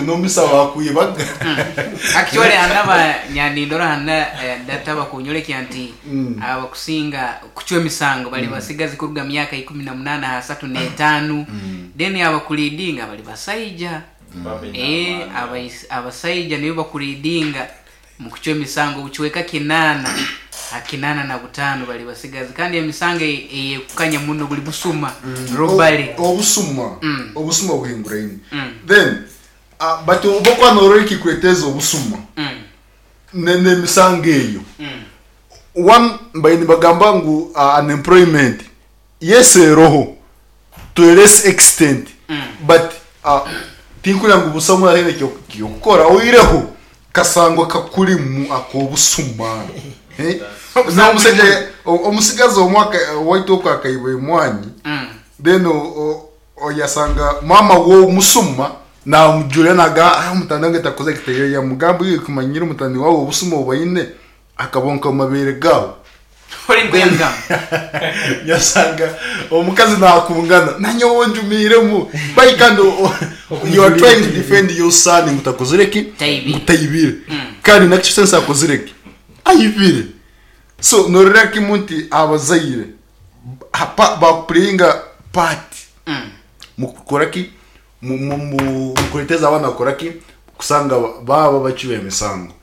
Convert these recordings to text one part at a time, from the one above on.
Nomisa wakwibaga. Actually hanu aba nindora hanu data bakunyorekya nti abakusinga kucwa emisango bari basigazi kuruga myaka 18 aha 35, then abakuleadinga bari basaija. Eh, abasaija nibo bakuleadinga mukucwa emisango obucweka kinaana ha 85 bari basigazi, kandi emisango eyekukanya muno buri busuma, robbery. Obusuma, obusuma buhinguraine. Then but obu okuba norora ekikureteeza obusuma n'emisango eyo, one mbaire nibagamba ngu unemployment, yes eroho to a less extent, but tinkureba ngu busa omuntu ataine ky'okukora oihireho kasangwa kakurimu ak'obusuma. N'omusaija omutsigazi omwe owaitu oku akaiba emwaani then Oyasanga maama w'omusuma namujurira nagamba ah omutani wange takozire eki yamugamba iwe kumanyire omutani wawe obusuma obu aine akabonka omu mabeere gaawe. Ori nikwo yamugamba. Yasanga omukazi nakungana nanyowe onjumiiremu by kandi you are trying to defend your son ngu takozire ki? Taibire. Ngu taibire. Kandi in actual sense akozire ki? Aibire. So nororera kimwe nti abazaire Bakupureyinga paati mukukora ki? Mukureeteza abaana kukora ki? Kusanga baaba abacwi b'emisango.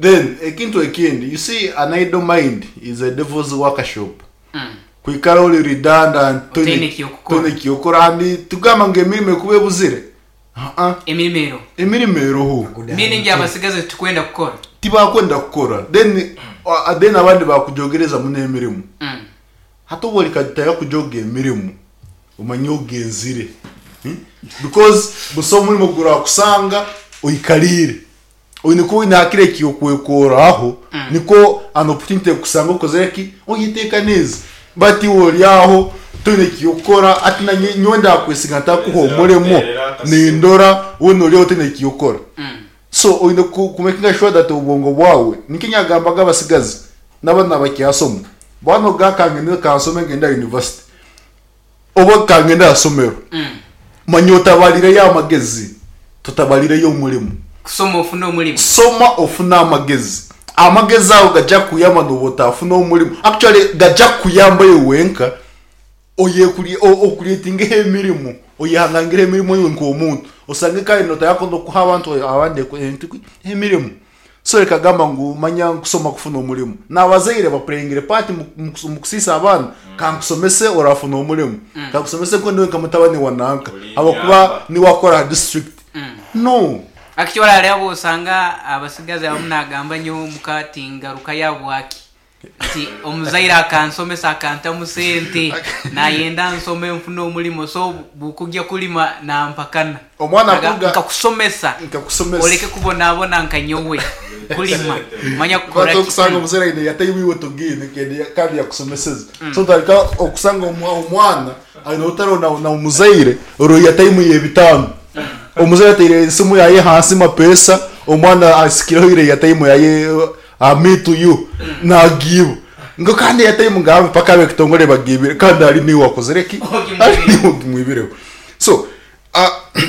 Then ekintu ekindi, you see an idle mind is a devil's workshop. Kwikara ori redundant Otaine eky'okukora. toine eky'okukora and tikugamba ngu emirimo ekuba ebuzire, haa. Emirimo eroho. Emirimo eroho. Meaning abasigazi titukwenda kukora. Tibakwenda kukora. Then then abandi bakujogereza muno emirimo. Hati obu orikagitaayo kujoga emirimo, omanye ogenzire because busaho omurimo gurakusanga oikariire. Oine kuba oine hakiri eky'okwekoraho nikwo an opportunity ekukusanga okozire ki? Oyeteekaniize. But iwe ori aho toine eky'okukora hati nanye nyowe ndakwesiga ntakuha omurimo nindora weena ori aho toine eky'okukora. So oine ku makinga sure that obwongo bwawe, nikyo nyagambaga abasigazi nabana abakyasoma, banoga kangende kansome ngende aha university oba kangende aha somero, manya otabarireyo amagezi, totabarireyo omurimo. Kusoma ofune omurimo. Soma ofune amagezi. Amagezi ago gaja kukuyamba nobu otafuna omurimo, actually gaja kukuyamba iwe wenka Oye-ocreatingeho emirimo, oyehangangireho emirimo iwe nk'omuntu, osange kare notayako n'okuha abantu abandi emirimo. So reka gamba ngu manya nkusoma kufuna omurimo. N'abazaire bapureyingire paati omu kusiisa abaana, kankusomese orafuna omurimo, kankusomese nkoku ndiwe nka mutabani wa nanka ahabw'okuba niwe akora aha disiturikiti. No. Actually hariho abu osanga abasigazi abamu nagamba nyowe omuka tingarukayo ahabwaki? Nti omuzaire akansomesa akantamu sente nayenda nsome nfune omurimo so bukugya kurima nampakana. Omwana Naga akuruga nkakusomesa nkakusomesa. oreke kubonabona nka nyowe kurima manya kukora But ki. okusanga omuzaire aine yataimu iwe togiine kandi kandi yakusomeseze. So otandika okusanga omwana aine orutaro na na omuzaire orwo yataimu y'ebitaano. Omuzaire ataire esimu yaye ahansi mapesa omwana asikireho ire yataimu yaye Me to you nagiiba ngu kandi airtime ngambe paka abekitongore bagiibire kandi ari niiwe wakozire ki? Ari niiwe ogimwibireho. So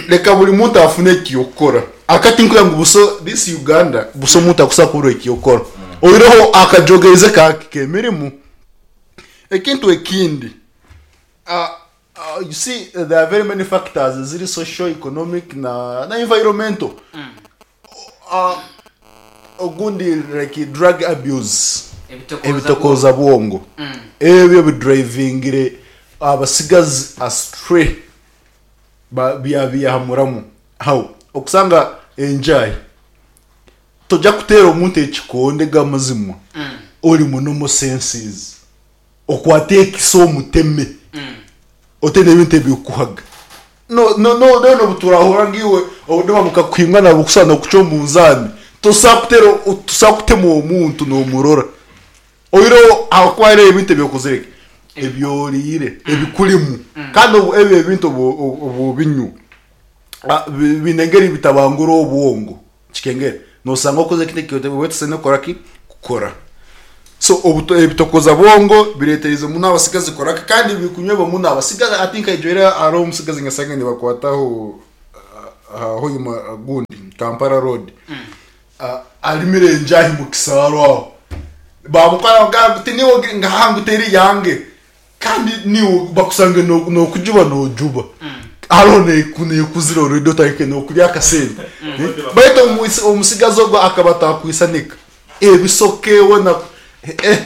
reka buri muntu afune ekyokukora. Aka tinkureba ngu buso this Uganda buso omuntu akusobola kuburwa ekyokukora. Oihireho akajogeize kake k'emirimo. Ekintu ekindi you see there are very many factors eziri social, economic na na environmental. Ogundi like drug abuse, ebitokooza bwongo, ebyo bidrivingire abasigazi astray byabiihamuramu. How? Okusanga enjahi, tojya kuteera omuntu ekikonde gamazima ori mu normal senses. Okwate ekiso omuteme ote n'ebintu ebirikukuhaga. No no no then obu turahurira ngu iwe obudima bukakuhingana bukushusha n'okucwa omunzaani, tosobola kuteera tosobola kutema omuntu n'omurora. Oihireho ahakuba hariho ebintu ebi okozire ki? Ebi oriire, ebikurimu. Kandi obu ebyo ebintu obu obu obinywa, biine engeri bitabangura obwongo. Kikengere nosanga okozire ekintu eki otaine kukora ki? Kukora. So ebitokoza bwongo bireeterize muno abasigazi kukora ki? Kandi birikunywebwa muno abasigazi. I think I hariho omusigazi nkasanga nibakwataho. Hoima gundi Kampala road arimire enjahi mu kisaaru aho bamukwata bamugamba ngu niiwe ngaha ngu teri yange kandi niiwe bakusanga nokujuba nojuba hariho nekuzire already otandikire nokurya akasente baitu omusigazi ogu akaba atakwisanika ebisoke wena eh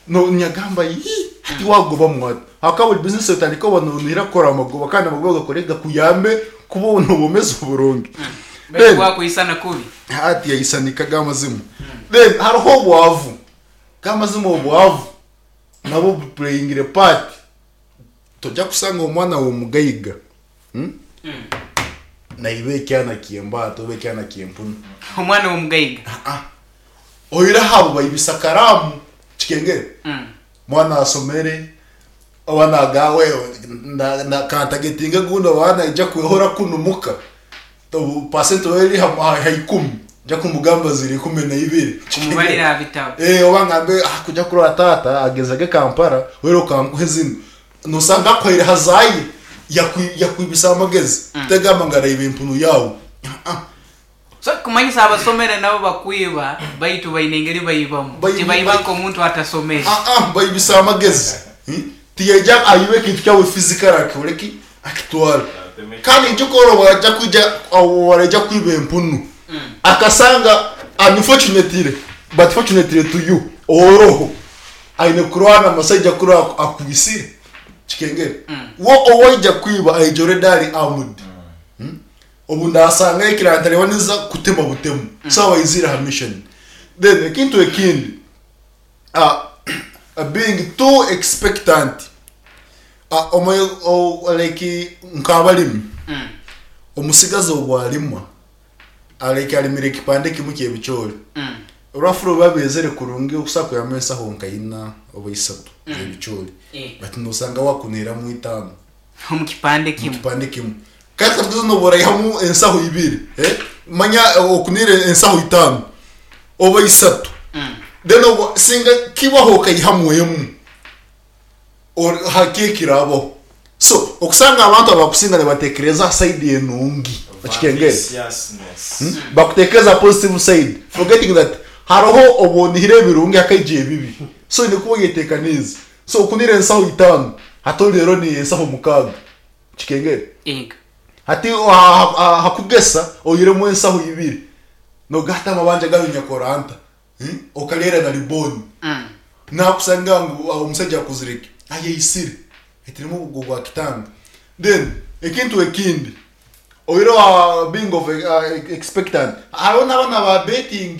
no nyagamba yii hati wagoba mwata ahakuba buri bizinesi otandika oba nonihira kukora amagoba kandi amagoba gakore gakuyambe kuba nobomeza oburungi. Baitu Then wakwisana kubi. hati yayisanika g'amazima. Then hariho obwavu g'amazima obwavu nabwo bupureyingire part tojja kusanga omwana w'omugaiga naiba ekyana ky'embaata oba ekyana ky'empunu. Omwana w'omugaiga. Oihireho abo baibisa karaamu kikengere mwana asomere oba nagamba kantagetinge gundi oba naija kwehora kunu muka pasenti oba eri aha ikumi nja kumugamba ziri 12. Kumubarira aha bitabo. Oba ngambe kuja kurora taata agenzage Kampala weena okankuhe zinu nosanga akuhaire hazaye yakwibisa amagezi tegamba ngu araiba empunu yaawe. So kumanyisa abasomere nabo bakwiba baitu baine engeri baibamu tibaiba nk'omuntu atasomere. Baibisa amagezi tiyaija aibe ekintu kyawe physically akikore ki akitware. Kandi ijuka ori obu araija obu araija kwiba empunu akasanga unfortunately but fortunately to you oroho aine kurwana amasaija kurora akwisire kikengere. We ou aija kwiba aija already ari armed. Obu ndasanga ekirara ntareba ninza kutema butemu so aba aizire aha mission. Then ekintu ekindi being too expectant like nk'abarimi omutsigazi obu arima like arimire ekipande kimwe ky'ebicoori rwafuro biba byezire kurungi okusobola kwihamu ensaho nka ina oba isatu z'ebicoori but nosanga wakuniramu itaano. Omu kipande kimwe. Omu kipande kimwe. Kandi katugize nooba oraihamu ensaho ibiri, manya okunire ensaho itaano oba isatu, then obwo singa kibaho okaihamu emwe, hake ekiraabaho. So okusanga abantu abakusinga nibatekereza aha side enungi, okikengere? Bakutekereza aha positive side forgetting that hariho obu onihire ebirungi hakaija ebibi. So oine kuba oyeteekaniize. So okunire ensaho itaano hati oreero ni ensaho mukaaga kikengere? Ego. Hati aha kugesa oihiremu ensaho ibiri nogata amabanja gayo nyakora nta? Okareera na ribooni. Nakusanga ngu omusaija akuzire ki? Ayeisire. Aitiremu obugo bwa kitanga. Then ekintu ekindi oihireho aha being of expectant hariho n'abaana ba betting.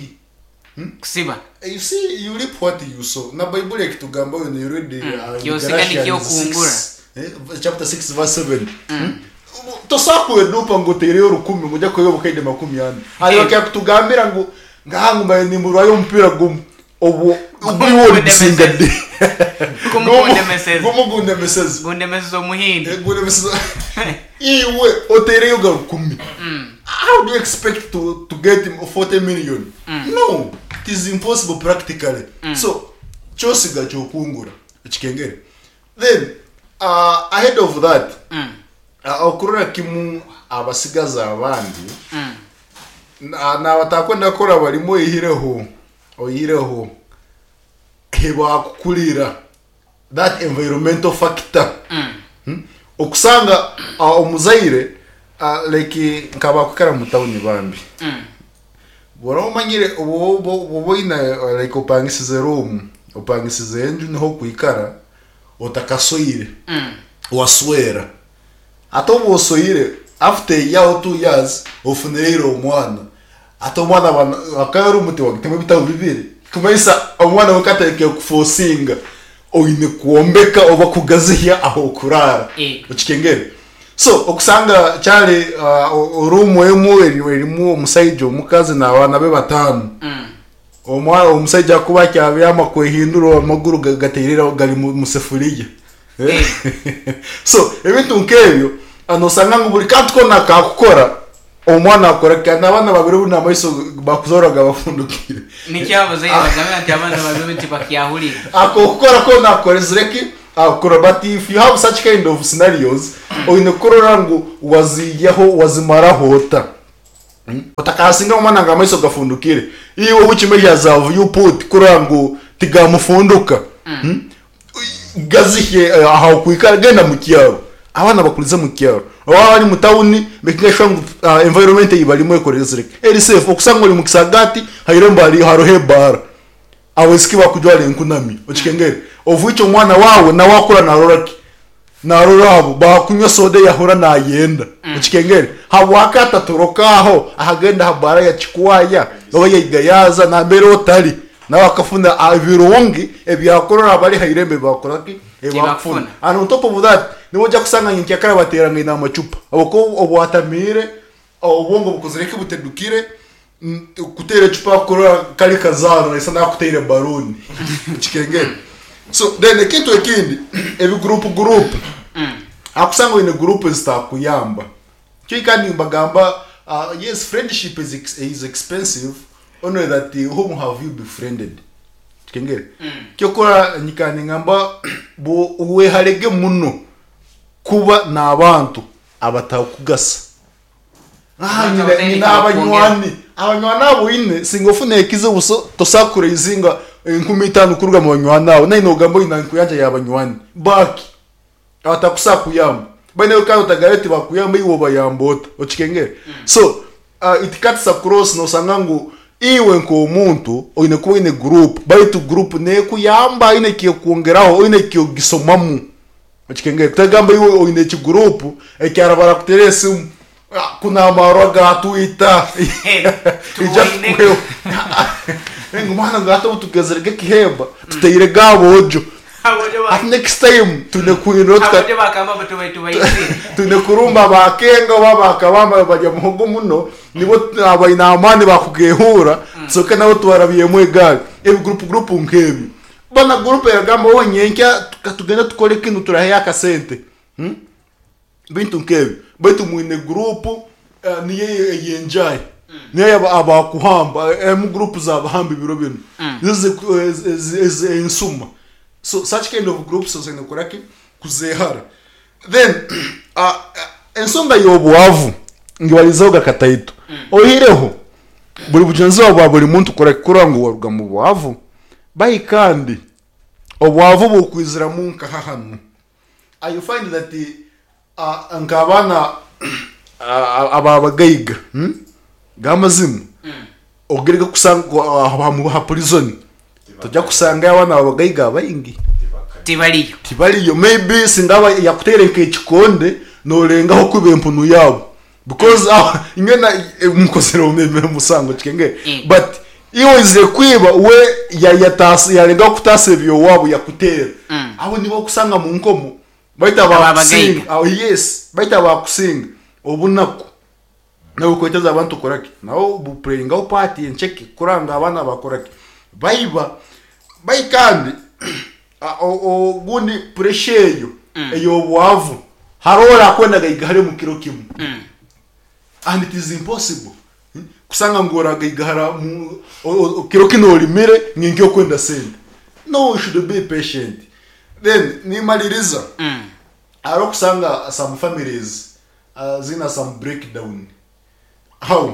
Kusiba. You see, you reap what you sow. Na Baibuli ekitugamba when you read in Kyosiga nikyo Galatians okungura. 6, chapter 6 verse 7. Tosobola kwedupa ngu oteireyo orukumi ngu oija kuheebwa obukaide 40. Hariho akakutugambira ngu ngaha ngu mbaire nimburwayo omupiira gumwe obwo Gumu iwe origusinga gundemeseze. di? Gumu Gumu gundemeseze. gumu gundemeseze. Gundemeseze omuhindi. Gundemeseze. Iwe oteireyo ga rukumi. How do you expect to, to get 40 million? No, it is impossible practically. So, kyosiga kyokungura ekikengere. Then, ahead of that, okurora kimu abasigazi abandi, nabatakwenda kukora barimu oihireho, oihireho ebakukurira that environmental factor. Okusanga omuzaire like nka abakwikara mu tawuni bambi bw'oraba omanyire obu oba oine like opangisize room, opangisize enju niho okwikara otakasoire waswera. Hati obu osoire after a year or 2 years ofunire omwana. Hati omwana aba akaba room tiwagitemu ebitabu bibiri kumanyisa omwana we katandikire kufosinga oine kwombeka oba kugazihya ah'okuraara. Okikengere? So okusanga kyari room emwe erimu omusaija, omukazi n'abaana be bataano. Omusaija kuba akyabyama kwehindura amaguru gateire gari mu sefuriya. So ebintu nk'ebyo nosanga ngu buri kantu koona akakukora omwana akora ki? N'abaana babiri obu n'amaiso bakuzoora gabafundukire. Nikyo abazaire bagambira nti abaana babi tibakyahurira. Akokukora koona akorezire ki? Akura but if you have such kind of scenarios oine kurora ngu waziihaho wazimaraho ota. Otakasinga omwana ngu amaiso gafundukire. Iwe which measures have you put kurora ngu tigamufunduka? Gazihye aha okwikara genda mu kyaro. Abaana bakurize mu kyaro. Waaba bari mu tawuni makinga sure ngu environment ei barimu ekorezire ki? Eri safe. Okusanga ori mu kisagaati hairembo hariho ebaara. Abaisiki bakujwara enkunami okikengere of which omwana waawe nawe akura narora ki? Narora abo bakunywa soda eyahura nayenda okikengere habwaki atatoroka aho akagenda aha baara ya Kikwaya oba ya Igayaza nambere otari nawe akafuna ebirungi ebyakurora abari ha irembo ebibakora ki? Ebibakufuna and on top of that niwe ojja kusanga nyenkyakara baterangaine amacupa habwokuba obwatamiire Obwongo bukozire ki butedukire kuteera ecupa kurora kari kazaano naisa nakuteire baruuni okikengere so then ekintu ekindi ebi group group akusanga oine group ezitakuyamba kyo kandi nimbagamba yes friendship is expensive only that whom have you befriended okikengere kyokora nyikara ningamba weharege muno kuba n'abantu abatarikugasa. Abantu abataine Nyine eki bakwongera. abanywani, abanywani abu oine singa ofuna ekizibu so tosobola kuraizinga 5000 kuruga mu banywani abo nainwe ogamba oine enkuyanja y'abanywani baki abatakusobola kuyamba baine kandi otagambire tibakuyamba iwe obayamba ota okikengere so it cuts across nosanga ngu iwe nk'omuntu oine kuba oine group baitu group nekuyamba eine ekyekwongeraho oine ekyogisomamu. Okikengere kutagamba iwe oine ekiguruupu ekyara barakuteera esimu kunu amarwa gatwita ija Tuboine. tukuheho ngu mwana ngu hati obu tugezire g'ekihemba tuteire g'aboojo Abojo ba- hati next time twine kuhindura tuka abojo bakamba ngu tuba- tubaizire. twine kurumba abakenga oba abakabamba barya muhogo muno nibo abaine amaani bakugehuura tusoke nabo tubarabyemu egaari ebigurupu gurupu nk'ebyo Bona gurupu eragamba owe nyenkya katugende tukore kinu turaheyo akasente bintu nkebyo baitu mwine gurupu niyo eyenjahi niyo abakuhamba emu gurupu zabahamba ebiro binu nizo ensuma so such kind of groups oine kukoraki kuzehara then ensonga yobwavu ngibarizeho akataito oihireho buri bujunanizibwa bwa buri muntu kurora ngu waruga mubwavu. Bai kandi obwavu bukwiziramu nkaha hanu? You find that nk'abaana ab'abagaiga g'amazima ogende kusanga aha prison tojja kusangayo abaana b'abagaiga baingi. Tibariyo. Tibariyo. Maybe singa yakuteire nk'ekikonde norengaho kwiba empunu yaabo. Because inywe na mukozire omusango kikengere but iwe oizire kwiba we yarengaho kutaasa eby'owaabo yakuteera abo nibo okusanga mu nkomo baitu abakusinga yes baitu abakusinga obunaku nabwo bukweteza abantu kukora ki nabo bupureyingaho paati enceke kurora ngu abaana bakora ki baiba bai kandi ogundi puresha eyo ey'obwavu hariho orakwenda agaigahare omu kiro kimwe and it is impossible kusanga ngu oragaigahara kiro kinu orimire nyenkya okwenda sente no you should be patient then nimaririza hariho okusanga some families ziine some breakdown how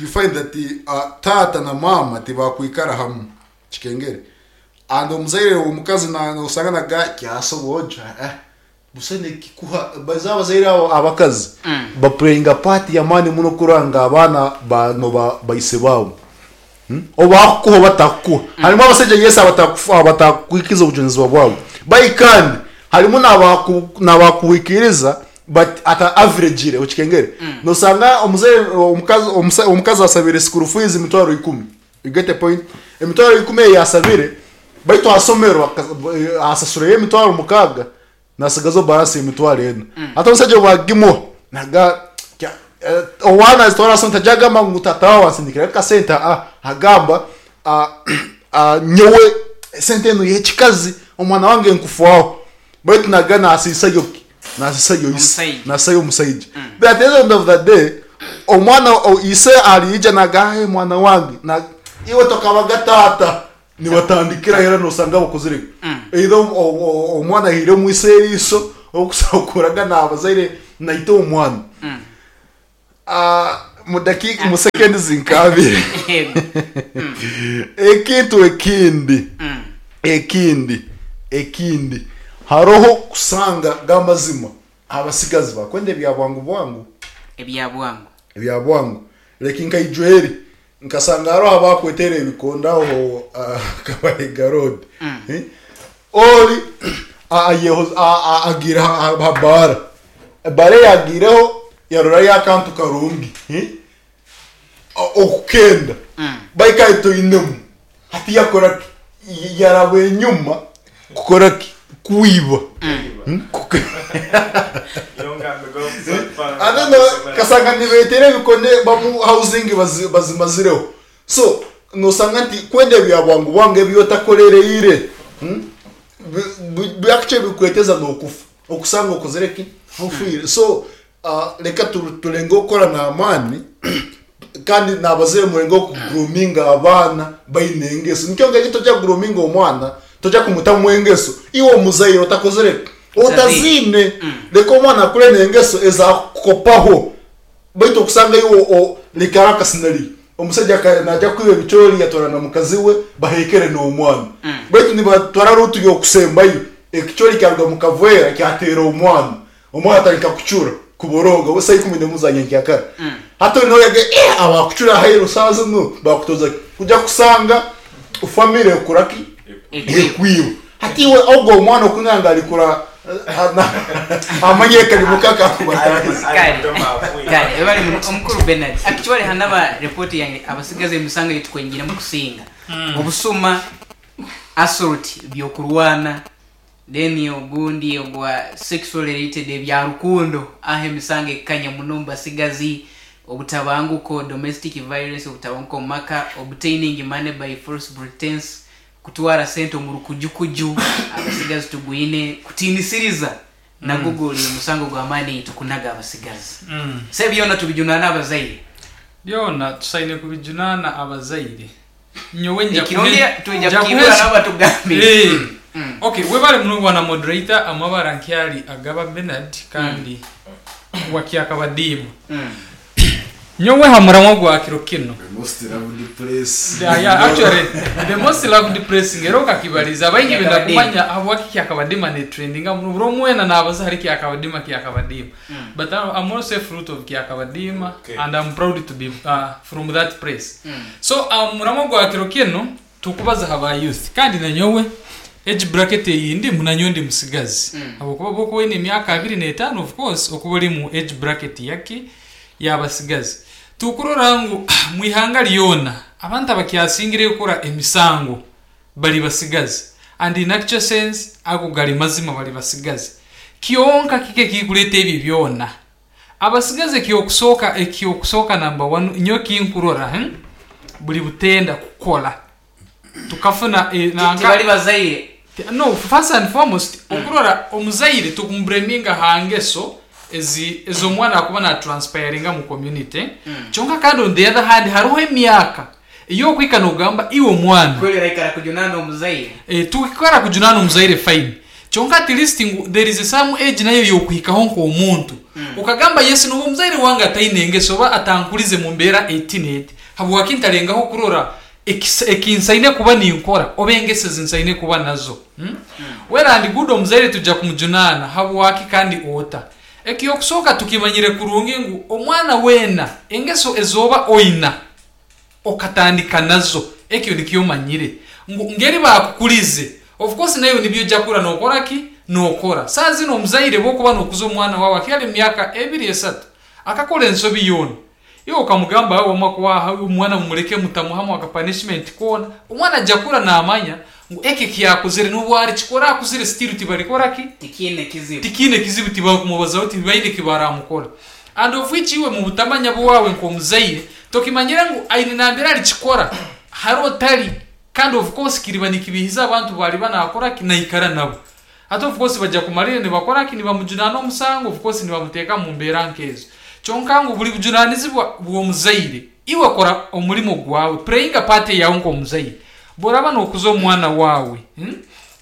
you find that taata na maama tibakwikara hamwe kikengere and omuzaire omukazi nosanga naga kyasoboja eh busa nikikuha baza abazaire abo abakazi bapureyinga paati y'amaani muno kurora ngu abaana banoba baise baabo oba bakukuha oba batakukuha harimu abasaija yes abatakuhikiriza obujunanizibwa bwabo bai kandi harimu nabakuhikiriza but ata averagire okikengere nosanga omuzaire omukazi omukazi asabire school fees 100,000 you get the point 100,000 eyi yasabire baitu aha somero asasureyo 60,000 nasigazaho balance y'40,000 hati omusaija obu agimuha naga owaana azitwara aha somero tajya agamba ngu tata waawe ansindikire akasente agamba nyowe esente enu y'ekikazi omwana wange nkufwaho baitu naga nasiisayo ki nasiisayo ise Omusaija. nasiisayo omusaija but at the end of the day omwana ise ariija naga mwana wange iwe tokabaga taata. Nibatandikiraho era nosanga bakozire either omwana ahaire omwiso eriiso okuragana aha bazaire naita omwana. Mu dakiika mu seconds nka abiri. Ekintu ekindi ekindi ekindi haroho kusanga g'amazima abasigazi bakwenda ebya bwangu bwangu. Ebya bwangu. Ebya bwangu. Like nka Ijweri Nkasanga haroho abakwetera ebikondo aho aha Kabalega road. Ori agiire aha baara, ebaara ei agiireho yarorayo akantu karungi okukenda baitu ahi toinemu hati yakora ki? Yaraba enyuma kukora ki? Kwiba. Kasanga nibetera ebikone bamu housing bazimazireho. So nosanga nti kwenda ebya bwangu bwangu ebi otakorereire actually bikureteza nokufa okusanga okozire ki? Ofwire. So Reka turengeho kukora n'amaani kandi n'abazaire murengeho kuguruminga abaana baine engeso. Nikyo ngu tojya kuguruminga omwana, tojya kumutamu engeso iwe omuzaire otakozire ki? Otaziine. Reka omwana akure n'engeso ezakukopaho baitu okusanga iwe leka hariho akasinariyo, omusaija naija kwiba ebicoori yatwara na mukazi we baheekere n'omwana baitu nibatwara ruutu y'okusembayo ekicoori kyaruga mu kaveera kyateera omwana. Omwana atandika kucura, kuborooga, we saaha ikumbi n'emwe za nyenkyakara. Hati ori nooyega, eh, abakucura aheeru saaha zinu bakutoza ki? Kuja kusanga famire ekura ki? Ekwiba. Hati iwe ogwo omwana okunanga ngu arikura amanye ekarimo ke akakubataahiza. Kare, kare, webale muno omukuru Bernard. Actually hanaba report yange abasigazi emisango eyitukwengiremu kusinga obusuma, assault, byokurwana, Then ogundi ogwa sexual related ebya rukundo aho emisango ekukanya muno omu basigazi, obutabanguko, domestic violence, obutabanguko omu maka, obtaining money by false pretence, kutwara sente omu rukujukuju, abasigazi tugwine, kutiinisiriza nagwo guri musango gw'amaani ei tukunaga abasigazi. So ebi byona tubijunaane abazaire. Byona tusaine kubijunaana abazaire. Nyowe nja Ekirungi kuhe- twija nja kukiibura kuhesa- nabo batugambire. Eh. Okay, webale muno bwana moderator amabara nkyali agaba Bernard kandi wa Kyakabadiima. Nyowe ha muramwa gwa kiro kinu. The most loved place. Yeah, yeah, actually the most loved place ngero okakibaliza abaingi benda Kyakabadiima. kumanya habwaki Kyakabadiima ne trendinga muno buri omwe wena nabaza ahari Kyakabadiima Kyakabadiima. But I'm also a fruit of Kyakabadiima Okay. and I'm proud to be from that place. So omuramwa gwa kiro kinu tukubaza aha ba youth kandi nanyowe age bracket eyi ndimu nanyowe ndi musigazi habwokuba obu okuba oine emyaka abiri n'etaano of course okuba ori mu age bracket yaki y'abasigazi. Tukurora ngu mu ihanga ryona abantu abakyasingireyo kukora emisango bari basigazi and in actual sense ago gari mazima bari basigazi. Kyonka kiki ekirikureta ebi byona? Abasigazi ekyokusooka ekyokusooka number one nyowe ekinkurora buri butenda kukora tukafuna nanka Tibari bazaire. No first and foremost okurora omuzaire tukumubureminga aha ngeso ezi ez'omwana akuba na transpiringa mu community kyonka kandi on the other hand hariho emyaka ey'okuhika nogamba iwe omwana Kweli oraikara kujunaana omuzaire. Tukikara kujunaana omuzaire fine Kyonka at least ngu there is some age nayo yokuhikaho nk'omuntu okagamba yes nobu omuzaire wange ataine ngeso oba atankurize mu mbeera eti n'eti habwaki ntarengaho kurora ekinsaine kuba ninkora oba engeso ezi nsaine kuba nazo Well and good omuzaire tuja kumujunaana habwaki kandi ota? Ekyokusooka tukimanyire kurungi ngu omwana weena engeso ezooba oina okatandika nazo ekyo nikyo omanyire ngu ngeri bakukurize of course naiwe nibyo oija kukura nokora ki nokora saha zinu omuzaire bwokuba nokuza omwana wawe akyali mumyaka ebiri esatu akakora ensobi yoona iwe okamugamba awe wamma kwaha omwana mumureke mutamuhamu aka punishment koona omwana aija kukura namanya ngu eki ekiyakozire nobu arikikora akuzire still tibarikora ki Tikiine kizibu. Tikiine kizibu tibakumubazaho tibaine ekibaramukora and of which iwe mubutamanya bwawe nk'omuzaire tokimanyire ngu aine nambere arikikora hare otari kandi of course kiriba nikibihiza abantu bariba nakoraki naikara nabo hati of course baja kumarira nibakoraki nibamujunaana omusango of course nibamuteeka mumbeera nkezo kyonka ngu buri bujunanizibwa bw'omuzaire iwe kora omurimo gwawe playinga part yawe nk'omuzaire. Bw'oraaba nookuza omwana waawe,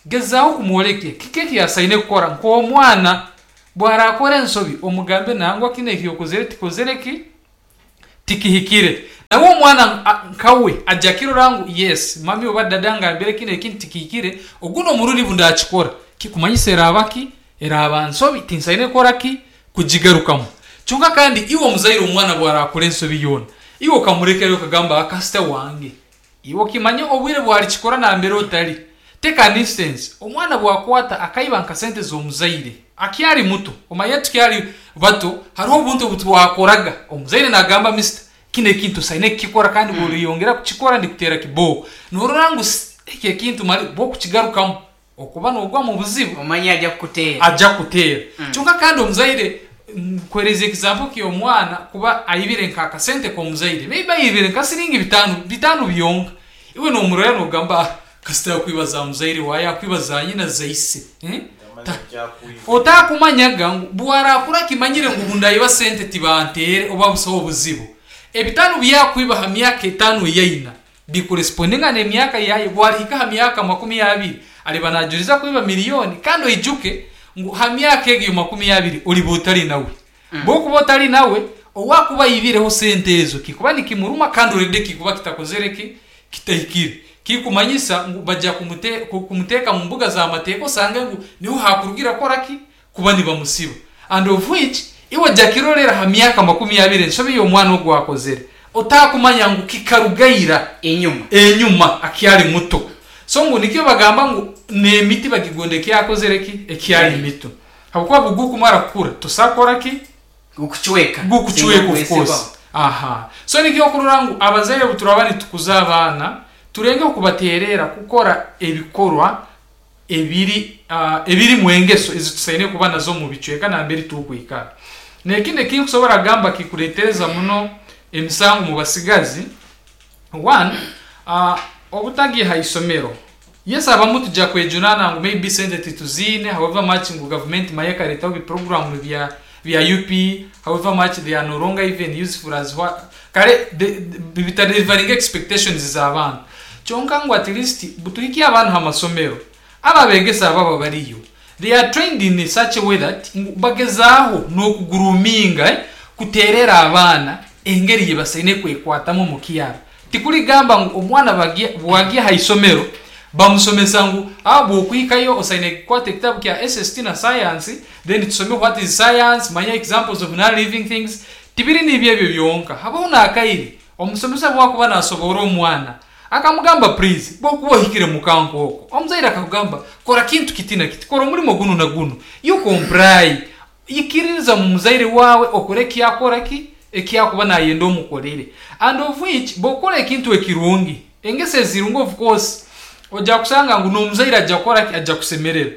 gezaaho kumworekya kiki eki asaine kukora nk'omwana. Bw'araakora ensobi, omugambe nangwa kinu eki okozere tikozere ki? Tikihikire. Nawe omwana nkawe aja akirora ngu yes, mami oba dada angambire kinu ekintu tikihikire, ogundi omurundi obu ndakikora, kikumanyisa eraaba ki? Eraaba nsobi, tinsaine kukora ki? Kugigarukamu. Kyonka kandi iwe omuzaire omwana bw'araakora ensobi yoona, iwe okamurekerayo okagamba ah kasita wange. Iwe okimanye obwire bwarikikora nambere otari. Take an instance, omwana bwakwata akaiba nka sente z'omuzaire akyari muto, omanyire tukyari bato hariho obuntu obutwakoraga omuzaire nagamba Mister kinu ekintu tosaine kukikora kandi bworeyongera kukikora ndikuteera kibooko. Norora ngu eki ekintu mali bwokukigarukamu Okuba nogwa mu buzibu. Omanye aja kukuteera. Aja kukuteera. Kyonka kandi omuzaire, nkuhereza example ky'omwana kuba aibire nka akasente k'omuzaire, maybe aibire nka siringi bitano, bitano byonka. Iwe nomurora nogamba ah kasita yakwiba za muzaire waaye, yakwiba za nyina, za ise. Otakumanyaga ngu bwarakura akimanyire ngu obundayiba sente tibanteere oba busaho buzibu. Ebitano byakwiba ha myaka etano eyaina, Bikuresipondinga n'emyaka yaye, bwarihika aha myaka 20 ariba najuriza kwiba miriyoni kandi oijuke ngu ha myaka egyo 20 oriba otari nawe. Bwokuba otari nawe, owakuba aibireho sente ezo kikuba nikimuruma kandi already kikuba kitakozere ki? Kitahikire. Kikumanyisa ngu baja kumuteka mu mbuga za mateeka osange ngu niho hakurugira kukora ki? Kuba nibamusiba. And of which iwe jakirorera ha myaka 20 ensobi y'omwana ogu akozere otakumanya ngu kikaruga ira Enyuma. Enyuma akyali muto. So ngu nikyo bagamba ngu n'emiti bagigonda ekyakozere ki? Ekyali mito. Habwokuba bugukumara kukura tosobola kukora ki? Gukucweka. Gukucweka of course. Aha. So nikyo okurora ngu abazaire obu turaba nitukuza abaana tulengeho kubatererra kukora ebikorwa ebiri ebirimu engeso ezi tusaine kuba nazo omu bicweka nambere turukwikara. N'ekindi eki nkusobora kugamba kikuletereza muno emisango mu basigazi, one, obutagya ha isomero. Yes abamu tugya kwejunaana ngu maybe sente tituziine however much ngu gavumenti manya ekaletaho bi program bya bya UPE however much they are no longer even useful as what kare bitadelivaringa expectations z'abaana. Kyonka ngu at least butuhikye abaana ha masomero, abo abegesa ababa bariyo they are trained in such a way that ngu bagezaaho n'okugroominga, kuterera abaana engeri yibasaine kwekwatamu omu kyaro. Tikurigamba ngu omwana bwagya ha isomero bamusomesa ngu ah bwokuhikayo osaine kukwata ekitabu kya SST na science then tusome what is science, manya examples of non living things. Tibiri nibyo ebyo byonka, habaho n'akaire omusomesa bwakuba nasoboora omwana akamugamba please bwokuba ohikire muka nk'okwo omuzaire akakugamba kora kintu kiti na kiti, kora omurimo gunu na gunu, you comply. Ikiririza omu muzaire waawe okore eki akora ki eki akuba nayenda omukorere. And of which bwokora ekintu ekirungi, engeso ezirungi of course oja kusanga ngu nomuzaire aja kukora ki aja kusemererwa.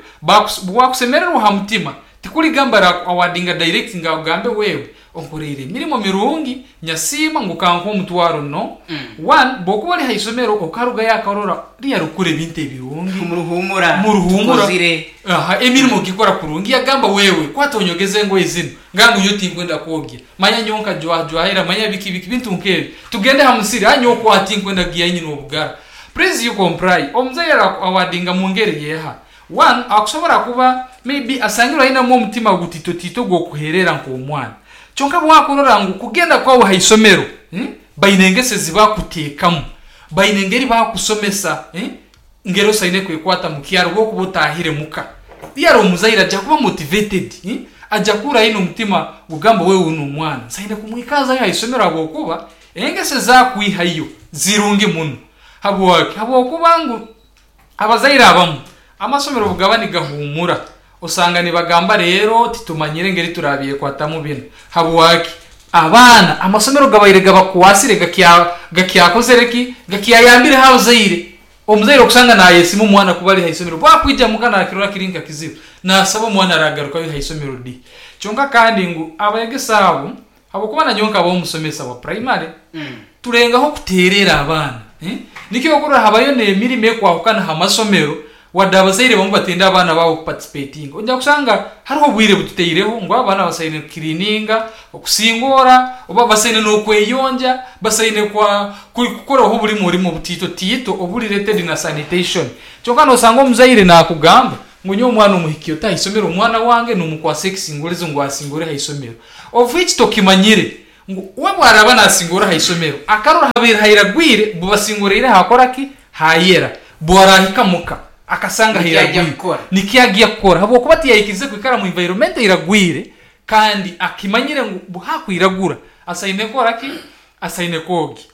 Bwakusemererwa ha mutima tikurigamba araku awardinga direct ngu akugambe wewe onkoreire emirimo mirungi nyasiima ngu kankuhe omutwaro no. One, bwokuba ori ha isomero okarugayo akarora riya arikukora ebintu ebirungi. Muruhumura, Muruhumura. tukozire. Aha, emirimo ogikora kurungi yagamba wewe kwata onyogeze engoye zinu ngangu nyowe tinkwenda kwogya manya nyowe nkajwajwahira manya biki biki bintu nk'ebyo tugende ha musiri ha nyowe kwa tinkwenda kugiya nyine obugara please you comply omuzaire araku awardinga mu ngeri yeha one akusobora kuba maybe asangirwe ainemu omutima gutitotito gw'okuherera nk'omwana kyonka bwakurora ngu kugenda kwawe ha isomero baine engeso ezi bakutekamu baine engeri bakusomesa ngeri osaine kwekwata mu kyaro bwokuba otahire muka. Yari omuzaire aja kuba motivated, aja kuhurra aine omutima gugamba wewe onu omwana nsaine kumwikazayo ha isomero habwokuba engeso ezakwihayo zirungi muno. Habwaki? Habwokuba ngu abazaire abamu amasomero obugaba nigahumura osanga nibagamba rero titumanyire engeri turabyekwatamu binu. Habwaki? Abaana amasomero gabaire gabakwasire gakyakozere ki? Gakyayambireho abazaire. Omuzaire okusanga nayesiima omwana kuba ari ha isomero bwakwija muka nakirora kiri nka kizibu nasaba omwana aragarukayo ha isomero di. Kyonka kandi ngu abayegesa abo habwokuba nanyowe nkaba omusomesa wa primary tulengaho kuterera abaana. Nikyo okurora habayo n'emirimo ekwahukana ha masomero. Wadde abazaire bamwe batenda abaana baabo kuparticipatinga, oija kushanga hariho obwire bututaireho ngu abaana basaine kukiriininga, okusingoora, oba basaine n'okweyonja, basaine kwa kukoraho oburimu orimo obutiito tiito oburi related na sanitation. Kyonka nosanga omuzaire nakugamba ngu nyowe omwana omuhikye ota aha isomero omwana wange nomukwasa ekisingorezo ngu asingore aha isomero. Of which tokimanyire ngu we bwaraba nasingora aha isomero akarora habaire hairagwire bubasingoreire hakora ki? Hayera. Bwarahika muka akasanga Nikyo ajya hairagwire kukora. nikyo agya kukora habwokuba tiyaikirize kwikara mu environment eiragwire kandi akimanyire ngu buhakwiragura asaine kukora ki? Asaine kwogya.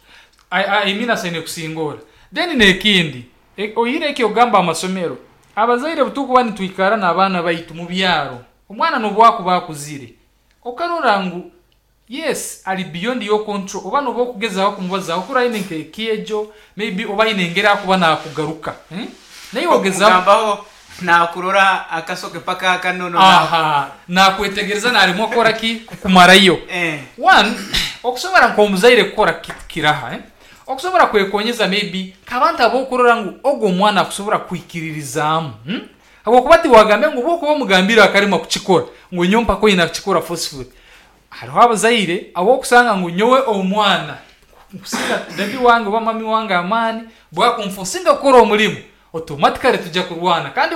I mean asaine kusingora. Then n'ekindi oihireho eky'okugamba amasomero, abazaire obuturikuba nitwikara n'abaana baitu mu byaro, omwana n'obu akuba akuzire, okarora ngu yes ari beyond your control oba noba okugezaho kumubazaho kurora aine nk'ekyejo maybe oba aine engeri akuba nakugaruka naiwe ogezaho Okugambaho nakurora akasoke paka akanono Aha, nakwetegereza naremwa kukora ki? Kukumarayo. One, okusobora nk'omuzaire kukora kiraha okusobora kwekonyeza maybe nk'abantu ab'okurora ngu ogu omwana akusobora kwikiririzaamu Habwokuba tiwagambe ngu obu okuba omugambire akaremwa kukikora ngu nyowe mpaka oine kukikora forcefully. Hariho abazaire abu okusanga ngu nyowe omwana nkusinga daddy wange oba mummy wange amaani bwakunfosinga kukora omurimo automatically tujya kurwana kandi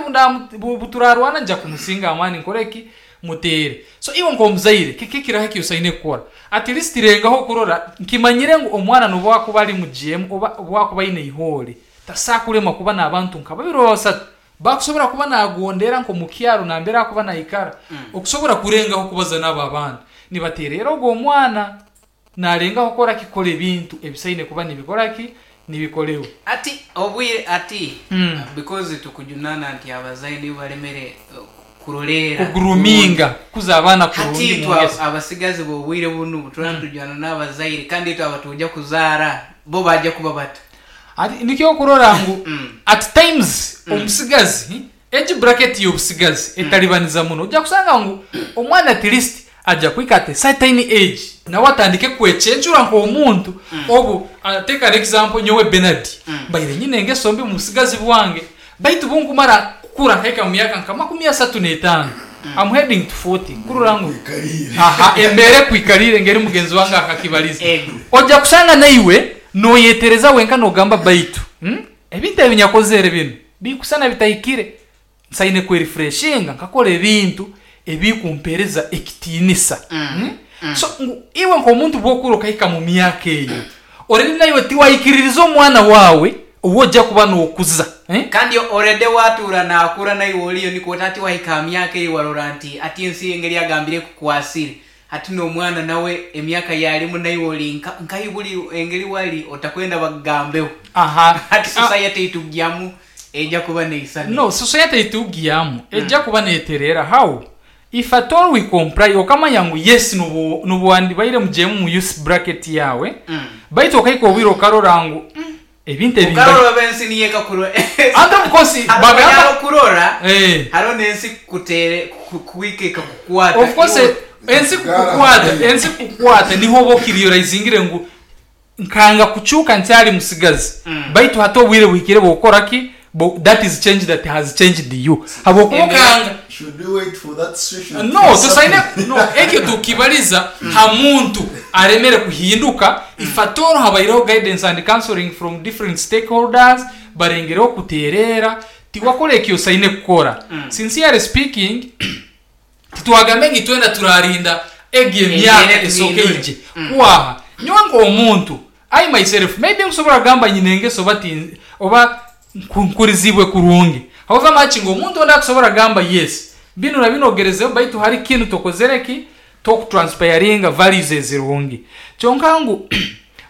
obu turarwana nija kumusinga amaani nkore ki? Muteere. So iwe nk'omuzaire kiki ekiraha eki osaine kukora? At least rengaho kurora nkimanyire ngu omwana n'obu akuba ari mujeemu oba obu akuba aine eihoore tasakuremwa kuba n'abantu nka babiri oba basatu Bakusobora kuba nagondera nk'omu kyaro nambere akuba naikara, okusobora kurengaho kubaza n'abo abandi. Nibatererra ogu omwana nalengaho kukora ki? Kukora ebintu ebisaine kuba nibikora ki? Nibikolewa. Ati obwire ati because tukujunana nti abazaire nibo baremere kuroleera kurungi. Kuguruminga, kukuza abaana Hati kurungi mu itwe ngeso. abasigazi b'obwire bunu turaba nitujwana n'abazaire kandi itwe abatujya kuzaara bo bajya kuba bata? Hati nikyo okurora ngu at times omusigazi, age bracket y'obusigazi etalibaniza muno. Ojja kusanga ngu omwana at least ajja kuhika at a certain age nawe atandike kwecencura nk'omuntu obu take an example nyowe Bernard mbaire nyine engeso mbi omu busigazi bwange baitu obunkumara kukura nkahika mu myaka nka 35 I'm heading to 40 kurora ngu aha embeera ekwikariire ngeri mugenzi wange akakibaliza ojja kusanga naiwe Noyetereza wenka nogamba baitu ebintu ebi nyakozere binu bikusana bitahikire, nsaine kwerifreshinga nkakora ebintu ebikumpereza ekitinisa. So ngu iwe nk'omuntu bwokura okahika mu myaka eyo, already naiwe tiwaikiririza omwana wawe ou ojja kuba nokuza. Kandi already watuura nakura naiwe oriyo nikwo oti hati wahika aha myaka eyi warora nti hati ensi engeri agambire ekukwasire. Hati n'omwana nawe emyaka yaarimu naiwe ori nka nkahi buri engeri wari otakwenda bakugambeho. Aha. Hati society eitugyamu eija kuba neisana No, eta? society eitugyamu eija kuba neterera how? If at all we comply okamanya ngu yes nobu nobu wandibaire mugyemu mu youth bracket yaawe baitu okahika obwire okarora ngu umm ebintu ebi mba Okarora oba ensi niyo ekakurora And of course hariho bagamba okurora Eh. hariho n'ensi kukuteere kuhika ekakukwata Of course iwe ensi kukukwata ensi kukukwata niho oba okiriyolaizingire ngu nkanga kucuuka nkyari musigazi baitu hati obwire buhikire bw'okukora ki? That is change that has changed you habwokuba okanga Should we wait for that situation to No, tusaine happen? no ekyo tukibaliza ha muntu aremere kuhinduka if at all habaireho guidance and counseling from different stakeholders barengereho kutereera tiwakora eki osaine kukora. Sincerely speaking titwagambe ngu itwena turarinda egi emyaka Embeera esooke etuhindure. ije kwaha. Nyowe nk'omuntu I myself maybe nkusobora kugamba nyine engeso oba ti oba nkurizibwe kurungi however much ngu omuntu ondi akusobora kugamba yes binu na binu ogerezeho baitu hari kinu tokozere ki tokutranspiringa values ezirungi kyonka ngu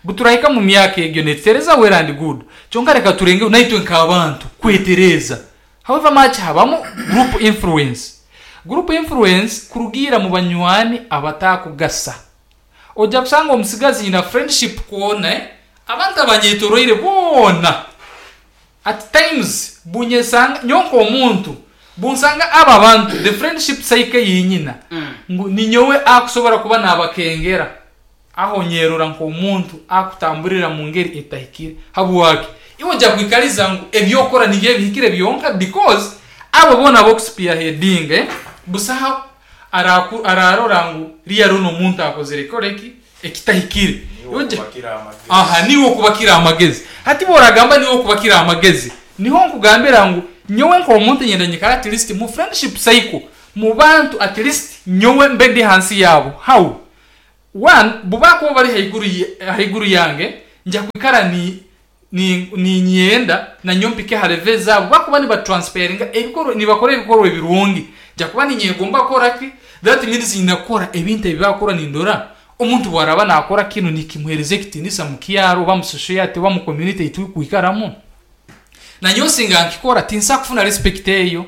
buturahika mu myaka egyo netutereza well and good kyonka reka turengeho naitwe nk'abantu kwetereza however much habamu group influence group influence kurugiira mu banywani abatakugasa Oja kusanga omusigazi nyina friendship kwona abantu abanyetoroire boona at times bunyesanga nyowe nk'omuntu bunsanga abo abantu the friendship cycle eyi nyina ngu ninyowe akusobora kuba nabakengera aho nyerora nk'omuntu akutamburira mu ngeri etahikire. Habwaki? Iwe oja kwikariza ngu ebyokora nibyo ebihikire byonka because abo boona abokuspearheadinga eh, busaho araku ararora ngu really onu omuntu akozire kikora ki? Ekitahikire. Niiwe Iwe oja okubakira amagezi. Aha, niiwe okubakira amagezi. Hati bworagamba niiwe okubakira amagezi, niho nkugambira ngu nyowe nk'omuntu nyenda nyikare at least mu friendship cycle, mu bantu at least nyowe mbe ndi hansi yaabo. How? One, bubakuba bari haiguru haiguru yange, nja kwikara ni ni niinyenda nanyowe mpike ha level ezaabo. Bakuba niba transferringa ebikorwa nibakora ebikorwa ebirungi, nja kuba niinyegomba kukora ki? That means nyine kukora ebintu ebi bakukora nindora omuntu obu araaba naakora kinu nikimuheereza ekitiinisa mu kyaro oba mu society oba mu community ei turikwikaramu. Nanyowe singa nkikora tinsobola kufuna respect eyo.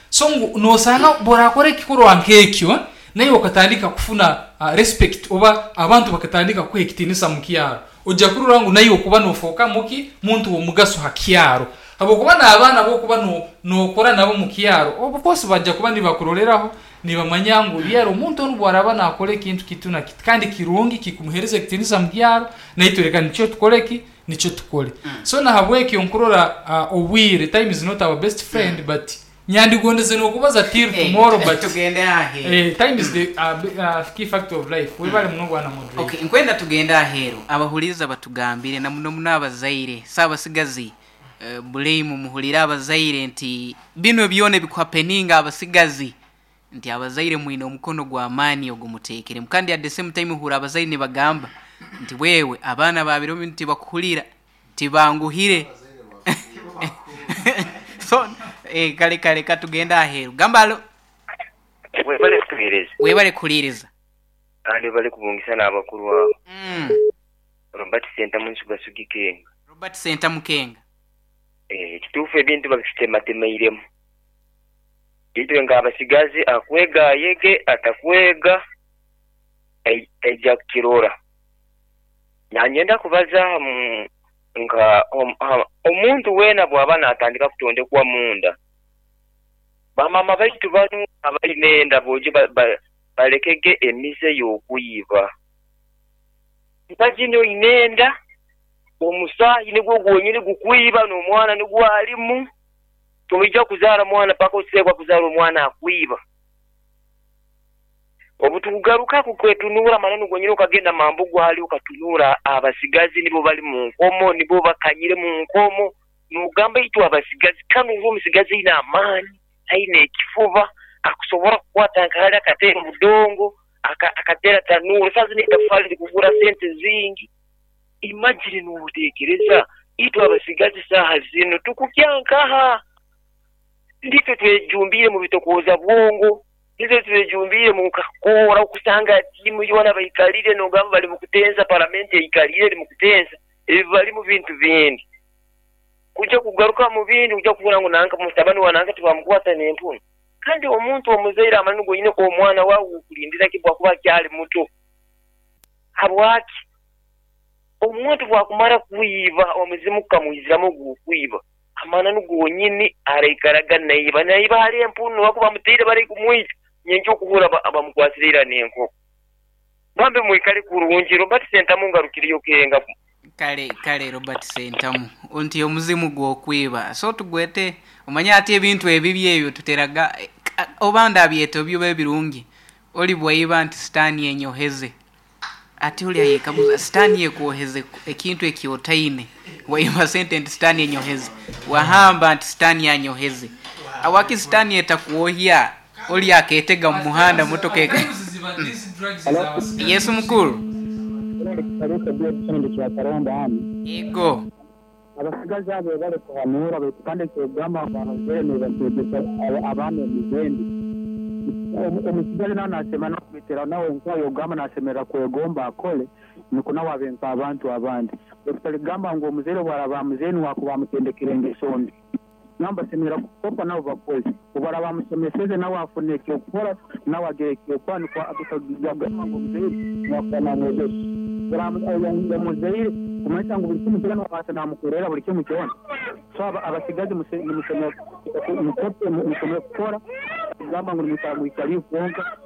So ngu nosanga obu orakora ekikorwa nk'ekyo, naiwe okatandika kufuna respect oba abantu bakatandika kukuha ekitiinisa mu kyaro, oija kurora ngu naiwe okuba nofooka muki? Muntu w'omugaso ha kyaro. Habwokuba n'abaana abu okuba nokora nabo mu kyaro, of course baija kuba nibakuroreraho, nibamanya ngu really omuntu onu obu araaba nakora ekintu kitu na kiti kandi kirungi kikumuheereza ekitiinisa mu kyaro, naitwe leka nikyo tukole ki? Nikyo tukole. So nahabwekyo nkurora obwire, time is not our best friend but nyandigondeze nokubaza till tomorrow but Tugende aheeru. time is the key factor of life. Webale muno bwana moderator. Okay, nkwenda tugende aheeru abahuriiriza batugambire na muno muno abazaire saabasigazi blame muhurire abazaire nti binu byona ebikuhapeninga abasigazi nti abazaire mwine omukono gw'amaani ogu muteekiremu. Kandi at the same time ohurra abazaire nibagamba nti bwewe abaana ba biro binu tibakuhurira, tibanguhire. So eh, kare kare katugende aheeru. Gamba alo. Webale kutuhereza. Webale kuhuriiriza. Kandi webale kubungisa n'abakuru abo. Robert Sentamu Nsugasugi Kenga. Robert Sentamu Kenga. Ekituufu ebintu babitutematemeiremu. Itwe nk'abasigazi akwega ayege, atakwega aija kukirora. Nanyenda kubaza nka omuntu weena bwaba natandika kutondekwa munda, bamaama baitu banu abaine enda boije balekege emize y'okwiba. Imagine oine enda, omusaayi nigwo gwonyini gukwiba n'omwana nigwo alimu. Toija kuzaara mwana paka oteekwa kuzaara omwana akwiba. Obutukugarukaku kwetunuura mananu gonyini okagenda mambugu hali okatunuura abasigazi nibo bali mu nkomo, nibo bakanyire mu nkomo, nogamba itwe abasigazi kanu ngu omusigazi aine amaani, aine ekifuba, akusobora kukwata nka hali akateera obudongo, akateera tanuura, saaha zinu etafaali rikugura sente zingi. Imagine notekereza itwe abasigazi saaha zinu tukukya nkaha? Nditwe twejumbiire mu bitokooza bwongo, nitwe twejumbiire mu kakoora okusanga tiimu yoona baikalire nogamba bali mu kutensa, paramenti eikalire eri mu kutensa, ebi balimu bintu bindi. Kuja kugaruka mu bindi kuja kuhurra ngu nanka mutabani wa nanka tibamukwata n'empunu. Kandi omuntu omuzaire amananu gonyini omwana waawe wokulindira ki bwakuba akyali muto? Habwaki? Omuntu bwakumara kwiba, omuzimu gukamwiziramu ogw'okwiba, amananu gonyini araikaraga naiba. Naiba hali empunu, ahakuba bamutaire bari kumwita, nyenkya okuhurra bamukwasire ira n'enkoko. Bambi mwikale kurungi. Robert Sentamu ngarukireyo Kenga. Kale, kale Robert Sentamu, nti omuzimu gw'okwiba. So tugwete, omanye ati ebintu ebibi ebyo tuteraga, oba ndabyeta obi oba ebirungi, oli bwaiba nti sitaani enyoheze. Ati oli ayekaguza, Sitaani ekwoheze ekintu eki otaine? Waiba sente nti Sitaani enyoheze, wahamba nti Sitaani anyoheze. Habwaki Sitaani etakwohya? Oli aketega mu muhanda motoka eka. Yesu mukuru. Ego. Abasigazi abo webale kuhanuura baitu kandi eky'okugamba ngu abazaire nibakyegesa abaana emize embi. Omusigazi nawe nasemerra n'okweteraho nawe enkoba y'okugamba nasemerra kwegomba akole nukwo nawe abe nk'abantu abandi. Baitu taligamba ngu omuzaire obu araaba amuzaire nuwe akuba amutendekere engeso mbi. Nabo basemerra kukopa nabo bakole. Obu araaba amusomeseze nawe afune eky'okukora, nawe agire eky'okukora nukwo atagamba ngu omuzaire nuwe akuba namwegesa. Omuzaire kumanyisa ngu buli kimu kyona nuwe abaasa namukorera buli kimu kyona. So abasigazi nimusemerra kukora, kugamba ngu nimwikara mwikaliire kwonka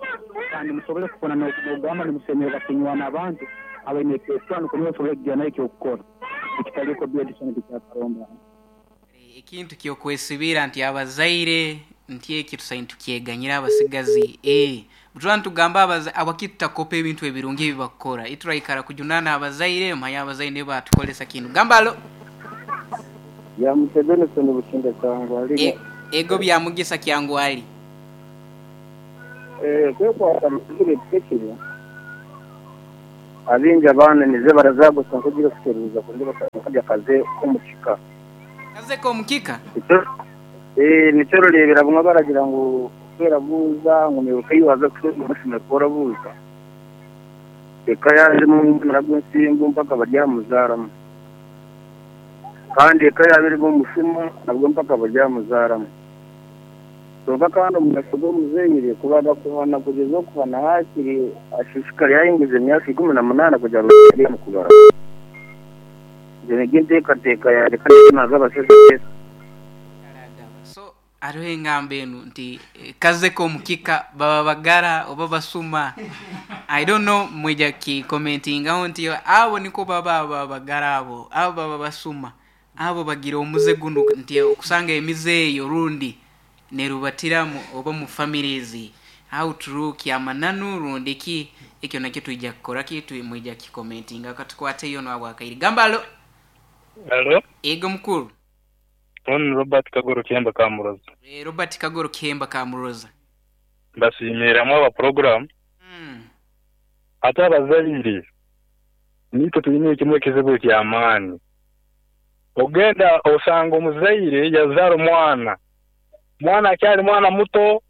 kandi musobole kufuna n'okugamba nimusemerra kunywana abantu abaine eky'okukora nukwo naiwe osobole kugira nawe eky'okukora. Ekitaliiko Edison Kyakaronda. Ekintu ky'okwesibira nti abazaire nti eki tusaine tukyeganyire abasigazi ee bwe nitugamba abazaire habwaki tutakopa ebintu ebirungi ebi bakukora ituraikara kujunaana abazaire manya abazaire nibo batukoresa kinu gamba alo Bya Museveni Bukinda Kyangwali. Ego bya Mugisa Kyangwali. Kwekwata mukiro ekihikire, abaingi abaana emize barazagusa nk'ogiire kusheruuza kundi bakajya akaze k'omukika. Akaze k'omukika? Nikyo orureebera bumwe baragira ngu ku orabuuza ngu naiwe ei waaza kusheruuza oshemeriire kuba orabuuza. Eka yaaba erimu omunara gw'ensimbu mpaka baryamuzaaramu. Kandi eka yaaba erimu omushuma nabwo mpaka baryamuzaaramu. Kwonka kandi omugasho gw'omuzaire kubanza kuhana kugyeza okuhana haakiri ashishikare yaahinguza emyaka 18 kugira ngu abe omu kubara. Egyo nigyo enteekateeka yangye kandi nikyo naaza abashaija kwega. So hariho engamba enu nti kaze k'omukika baba bagara oba basuma I don't know mwija kukikomentingaho nti abo nikwo baba abo abagara abo abo baba basuma Abo bagira omuze gunu nti okusanga emize eyo rundi nerubatira mu oba mu families how true kyamananu rundi ki ekyo nakyo twija kukora ki mwija kukikomentingaho katukwateyo onu abwakaire gamba alo. Alo. Ego mukuru. Onu ni Robert Kagoro Kihemba Kamuroza. Robert Kagoro Kihemba Kamuroza. Mbasiimiire hamwe aba puroguramu. Ate abazaire Naitwe twine kimwe ekizibu eky'amaani. Ogenda osanga omuzaire yazaara omwana, omwana akyali mwana muto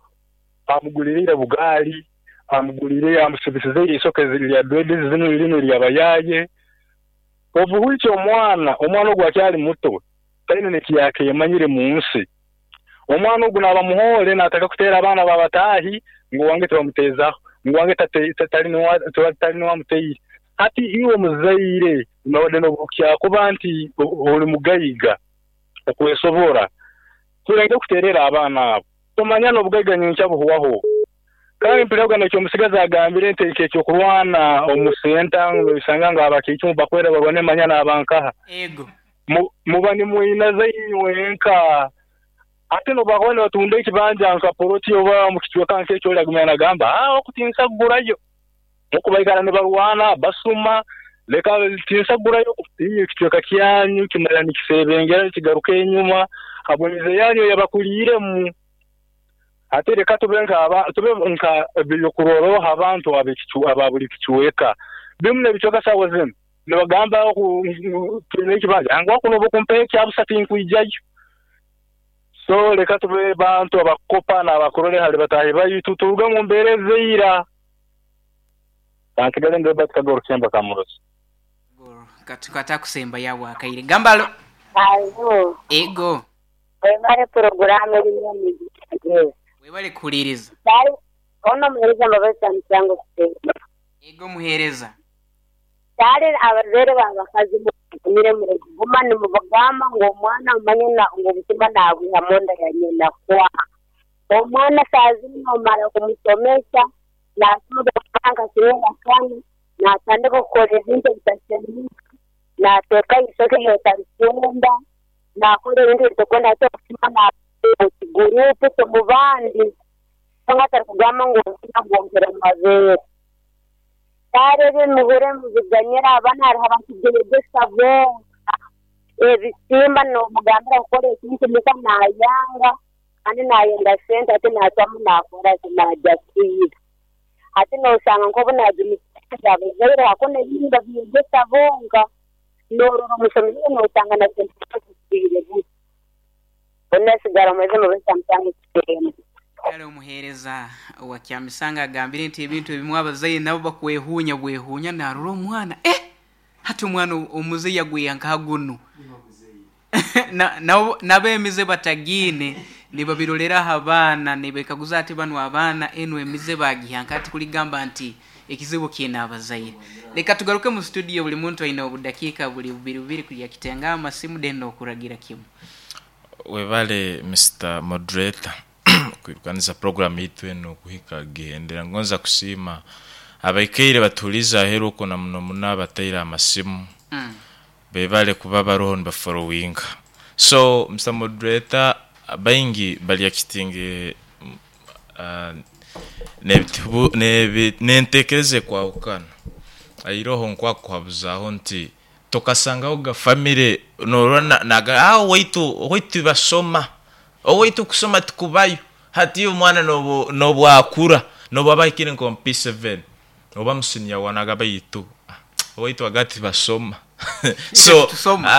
amuguliriire obugaali, amuguliriire amusibisize eisoke lya dredi zinu linu ery'abayaaye. Obuhwikya omwana, omwana ogu akyali muto taine n'eki yaakemanyire mu nsi. Omwana ogu naaba muhoore naatandika kuteera abaana ba bataahi ngu owange tibamuteezaho, ngu owange tali niwe amuteire. Hati iwe omuzaire noba n'obu kyakuba nti oli mugaiga okwesobora, tulenge kuteerera abaana abo. Tomanya n'obugaiga nyenkya buhwaho. Kandi mpuriraga n'eky'omusigazi agambire nti eky'okurwana omu senta ngu noisanga ngu abakiicumu bakwera barwane manya naaba nkaha. Ego. Muba nimweinaza inywenka. Hati nobu bakuba nibatunda ekibanja nka poloti oba omu kicweka nk'ekyo ori agumya nagamba, Aa oku tinsa kugurayo. Oku baikara nibarwana, basuma, leka tinsa kugurayo. Inywe ekicweka kyanyu kimara nikisebengera nikigaruka enyuma habw'emize yanyu eyabakuliiremu. Hati leka tube nka tube nka ebyokurorroho abantu aba buli kicweka. Bimu n'ebicweka saawa zinu Nibagamba oku twine ekibanja ngu oku nobu okumpa ekya busa tinkwijayo. So leka tube bantu abakukopa n'abakurora hali bataahi baitu turuge omu mbeera ez'eira. Kansigale ndi Robert Kagoro Kihemba Kamurozi. Katakusemba yabwa akaire. Gamba alo. Alo. Ego. Webale puroguramu erimu emigisha. Webale kuhuliriza. Ono muhereza Mbabazi Kyamusango Kuteesa. Ego muhereza. Kare abazaire b'abakazi mugumire murikuguma nimubagamba ngu omwana omanye ngu obutima naabwiha munda ya nyina kwa. Omwana shaaha zinu noomara kumushomesa, naashoma omu nka kimwe na kana, naatandika kukora ebintu ebitashemeire, naateeka eishokye eri otarikwenda, naakora ebintu ebi otarikwenda hati obutima naabwiha omu kiguruupu omu bandi kwonka atarikugamba ngu obutima bwongyera amabeere. Kare ebi muhure mubiganyire abaana hariho abarikubyeyegyesa bonka. Ebisimba nomugambira kukora ekintu muka nayanga kandi nayenda sente hati nacwamu nakora ki nagya kwiba. Hati noshanga nkobu nagimusiza abazaire hakuna ebindi nibabyegyesa bonka. Norora omushomire noshanga na sente zigwire busa. Mbwenu asigara omwezi mubisa mutango kitemba. Kale omuheereza wa Kyamisanga agambire nti ebintu ebimwe abazaire nabo bakwehuunya bwehuunya narora omwana eh! Hati omwana omuze yagwiha nkaha gunu? Nabo emize batagiine nibabirorera aha baana nibekaguza hati banu abaana enu emize bagiha nkaha tikuligamba nti ekizibu kiine abazaire. Leka tugaruke mu studio buli muntu aine obudakiika buli bubiri bubiri kuya kitenga amasimu then nokuragira kimu. Webale Mister Moderator kwirukaniza program yaitu enu kuhika gihendera. Ngonza kusiima abaikaire batuhuliize aheeru okwo na muno muno abataire amasimu. Bebale kuba baroho nibaforowinga. So Mister Moderator baingi bari actinge nentekereza ekwahukana. Airoho nkwakuhabuzaho nti tokasangaho ga family norora naga ah owaitu owaitu tibasoma, owaitu kusoma tikubayo. Hati omwana nobu akura nobu aba ahikire nka omu P7 oba mu senior one agamba baitu owaitu aga tibasoma. So Tusoma.